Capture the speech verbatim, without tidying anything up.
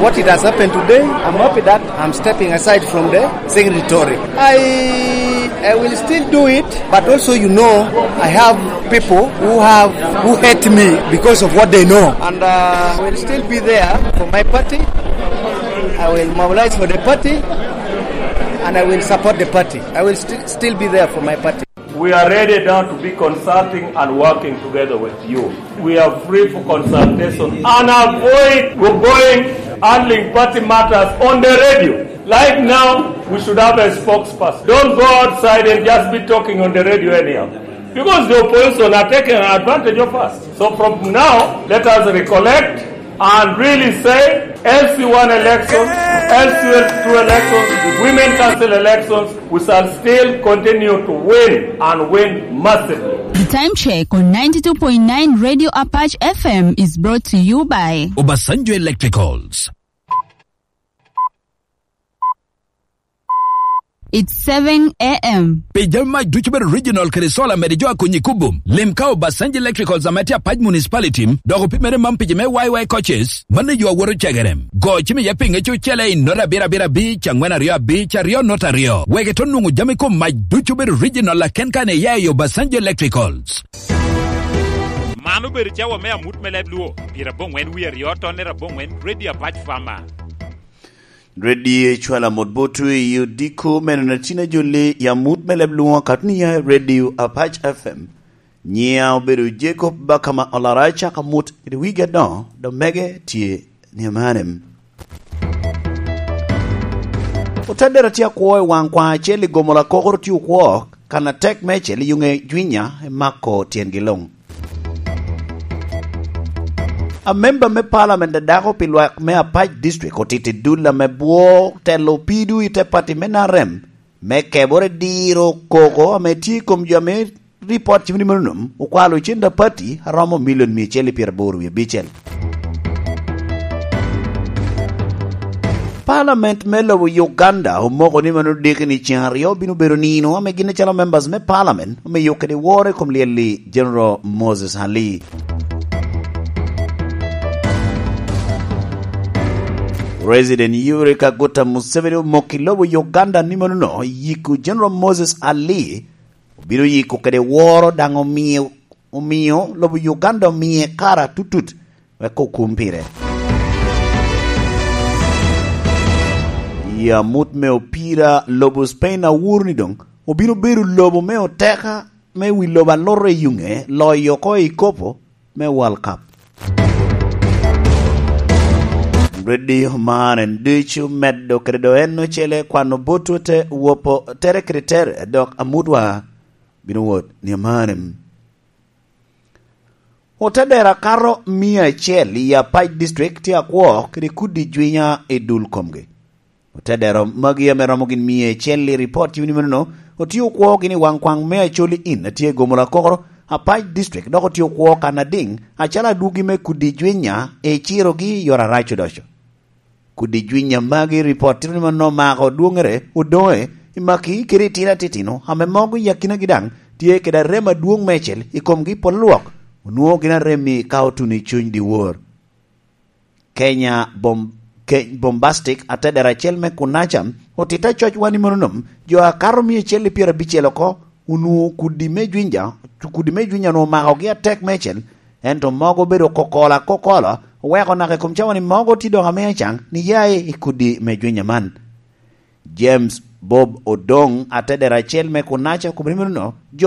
What it has happened today, I'm happy that I'm stepping aside from the secretary. I, I will still do it, but also, you know, I have people who have, who hate me because of what they know. And, uh, I will still be there for my party. I will mobilize for the party, and I will support the party. I will sti-, still be there for my party. We are ready now to be consulting and working together with you. We are free for consultation and avoid going handling party matters on the radio. Like now, we should have a spokesperson. Don't go outside and just be talking on the radio anyhow. Because the opposition are taking advantage of us. So from now, let us recollect and really say, L C one elections, L C two elections, women council elections, we shall still continue to win and win massively. The time check on ninety-two point nine Radio Apache F M is brought to you by Obasanjo Electricals. It's seven a m. Pi jami mac ducu bedo regional kede solar mede jo a konyi kubo. Lim ka Obasanjo Electricals ame tye Apac Municipality, dok opimere man pi jo me Y Y coaches, mano yo awoto cegere. Go cim iye pinge cucele i nota abiro abiro abic, angwen aryo abic, aryo nota aryo. Wek ito nwoŋo jami kom mac ducu bedo regional aken kan iya i Obasanjo Electricals. Man obedo cawa me amut me leb Luo, pyerabongwen wie aryo tonne rabongwen, Radio Apac Farmer. Radio Cwala mot botwu i odiko meno na tina jolli i amut me leb Luo, katunia Radio Apac F M. Nyiya obedo Jacob Bakama Olara, caka mut kede wigi adoŋo, dok mege tye ni amanem. Otedera tye akwo i waŋ kwaŋ acel i gomo lakokoro tye okwo, kan atek meicel i yuŋe Jwinya i mako tyengi luŋ. Amemba me Parliament a dako pi lwak me Apac District otito i dul ame bwo telo pido i te pati me N R M me kebore diro koko ame tye i kom jo ame ripot cimo ni mano nom okwalo cen da pati aromo milion mia acel i pyeraboro wie abicel. Parliament me lobo Uganda omoko ni mano diki ni ceŋ aryo bino bedo nino ame gin acalo members me Parliament omiyo kede woro i kom lyel-li General Moses Ali. President Yoweri Kaguta Museveni omoko i lobo Uganda ni mano no yiko General Moses Ali obino yiko kede woro daŋ omio, omio lobo Uganda omie kara tutut wek okum pire. I amut me opira, lobo Spain awuro ni doŋ obino bedo lobo me oteka me wi lobo aloro i yuŋe loyo oko i kopo me World Cup. Redio man en ducu medo kede do en ocele kwano botwu te wopo tere kede tere, dok amutwa bino wot ni amanem. Otedera kato mia acel i Apac District tye akwo kede kudi jwinya i dul komgi. Otedero magi ame romo gin mia acel i ripot cimo ni manono, otye okwo gin i waŋ kwaŋ me Acholi Inn a tye i Gomola Kokoro, Apac District, dok otye okwo kan adiŋ acalo adwogi me kudi jwinya i cirogi i yore arac odoco. Kudi jwinya magi ripot tito ni manono omako dwoŋere, odoŋe i maki kede itino atitino ame mogo i akinagi daŋ tye kede arem adwoŋ meicel i komgi pol lwok, onwoŋo gin arem-mi ka otuno i cuny dyewor. Kenya Bom-, Ke-, Bombastic, atedera acel me Kunaca, otito acoc wan i mononom, jo akato mia acel i pyerabicel oko, onwoŋo kudi me jwinja, kudi me jwinja onwoŋo omakogi atek meicel, ento mogo obedo kokola kokola, oweko naka i kom cawa ni mogo tye dok ame acaŋ ni ya i kudi me jwinja man. James Bob Odong, atedera acel me Kunaca, okobo ni meno, jo